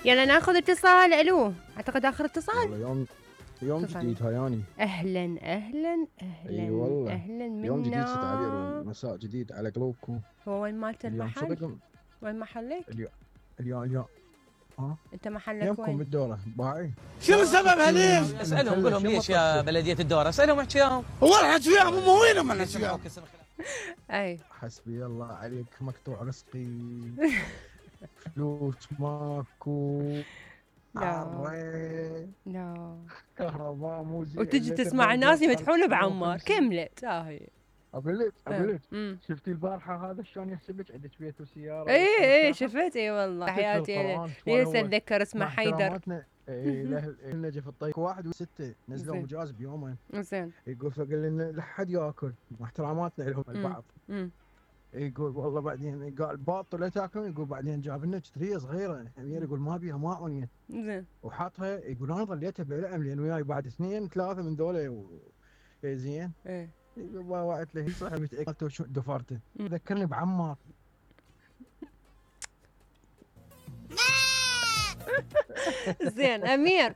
يلا ناخذ اتصال. الو، اعتقد اخر اتصال. يوم جديد هياني. اهلا اهلا اهلا. اي والله. اهلا منا. يوم جديد تعبير ومساء جديد على قلوبكم. هو وين مالت المحل؟ صدق وين محلك؟ اليوم انت محلك يمكم وين؟ بالدورة باعي. شنو سبب هليم؟ اسالهم قول لهم ليش يا بلديه الدوره، اسالهم احكيهم. هو الحكي وياهم هم وينهم الحكي؟ اي حسبي الله عليك، مقطوع رزقي. فلوس ماكو. لا كهرباء مو زين. وتجي تسمع الناس يمدحونه بعمار. كملت هاي. اقول لك شفتي البارحه هذا شلون يحسب لك عندك بيت وسياره؟ اي شفت. اي والله حياتي ليش اتذكر اسمه حيدر. نجف الطيب 1 و6 نزلوا مجاز بيومين. زين. يقول فقال لنا لا حد ياكل، مع احتراماتنا لهم البعض. يقول والله بعدين قال باطل لا تاكلون. يقول بعدين جاب لنا كتريه صغيره يقول ما بيها ماء ونيت. زين. وحاطها. يقول انا ظليتها بلعم لان وياي بعد 2 3 من ذولا زين. ايه يقول وقعت له صح متاكد شو دفرته. ذكرني بعمار. زين امير.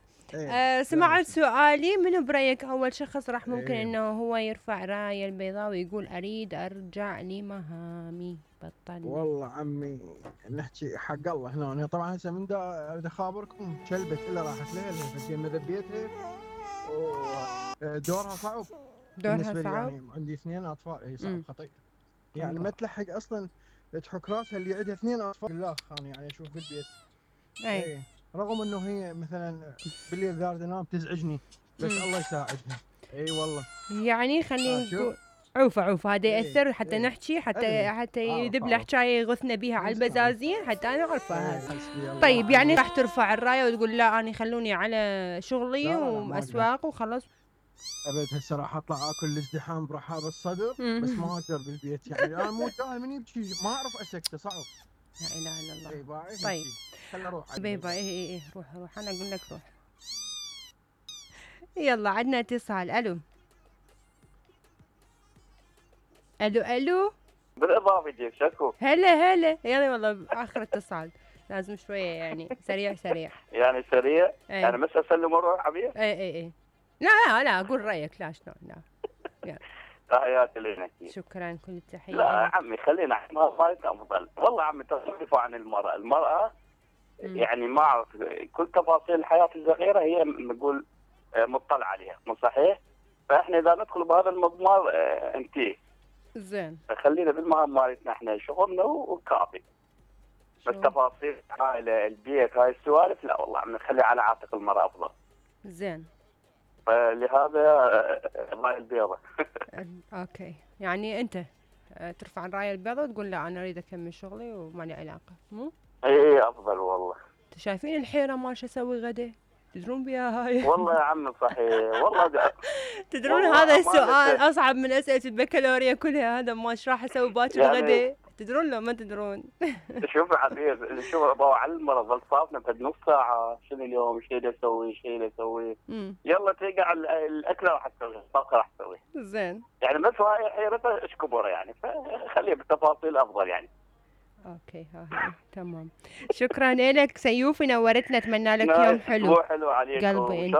سمعت سؤالي. منو برايك اول شخص راح ممكن انه هو يرفع رايه البيضاء ويقول اريد ارجع لمهامي؟ بطل. والله عمي نحكي حق الله هنا. انا طبعا هسه من دا اخابركم كلبت الا راحت لها فزين ذبيتها ودورها صعب. دورها صعب. يعني عندي 2 اطفال. هي صعب خطير يعني ما تلحق اصلا تحك راسها اللي عندها 2 اطفال. لا انا يعني اشوف بالبيت. اي رغم انه هي مثلا بالليل ذارد انام تزعجني بس الله يساعدها. اي والله. يعني خلينا نقول عوفة هذا يأثر حتى نحكي حتى يذب له حكايه يغثنا بيها على البزازين حتى انا اعرفه هذا. طيب يعني راح ترفع الرايه وتقول لا انا خلوني على شغلي واسواق وخلاص؟ ابد هسه راح اطلع اكل الازدحام برحاب الصدر بس ما اقدر بالبيت. يعني انا مو دائما من يبكي ما اعرف اسكته صعب. لا اله الا الله. طيب خل اروح بيبا. اي روح انا اقول لك روح. يلا عندنا اتصال. الو بالاضافه ضيف شكو. هلا يلا والله اخر اتصال لازم شويه يعني سريع يعني سريع. يعني بس اسلم واروح عبير. اي لا اقول رايك. لا شلون لا. يلا تحياتي لك. شكرا كل التحيه. لا عمي خلينا مالتنا افضل. والله عمي تصرفوا عن المراه يعني ما اعرف كل تفاصيل الحياه الصغيره هي نقول مطلع عليها مو صحيح. فاحنا اذا ندخل بهذا المضمار انتهي. زين. فخلينا بالمهام مالتنا احنا شغلنا وكافي. بس تفاصيل هاي البيت هاي السوالف لا والله عم نخلي على عاتق المرأة افضل. زين. فلهذا الراية البيضاء. اوكي يعني انت ترفع الراية البيضاء وتقول لا انا اريد اكمل شغلي وما لي علاقة مو؟ اي افضل والله. شايفين الحيرة ما شو اسوي غدا؟ تدرون بيها هاي؟ والله يا عم صحيح والله. تدرون هذا السؤال اصعب من اسئله البكالوريا كلها. هذا ما ايش راح اسوي باكر يعني غدا؟ تدرون لو ما تدرون؟ شوف عبير شوف على المرض ظل صافنا بعد نص ساعه شنو اليوم شنو اسوي يلا تلقى الاكله راح تسوي الطبخه راح تسوي. زين. يعني بس هاي حيرتها ايش كبر يعني فخليها بالتفاصيل افضل يعني. اوكي تمام. شكرا لك سيوفي نورتنا. اتمنى لك يوم حلو. حلو عليكم قلبي انت.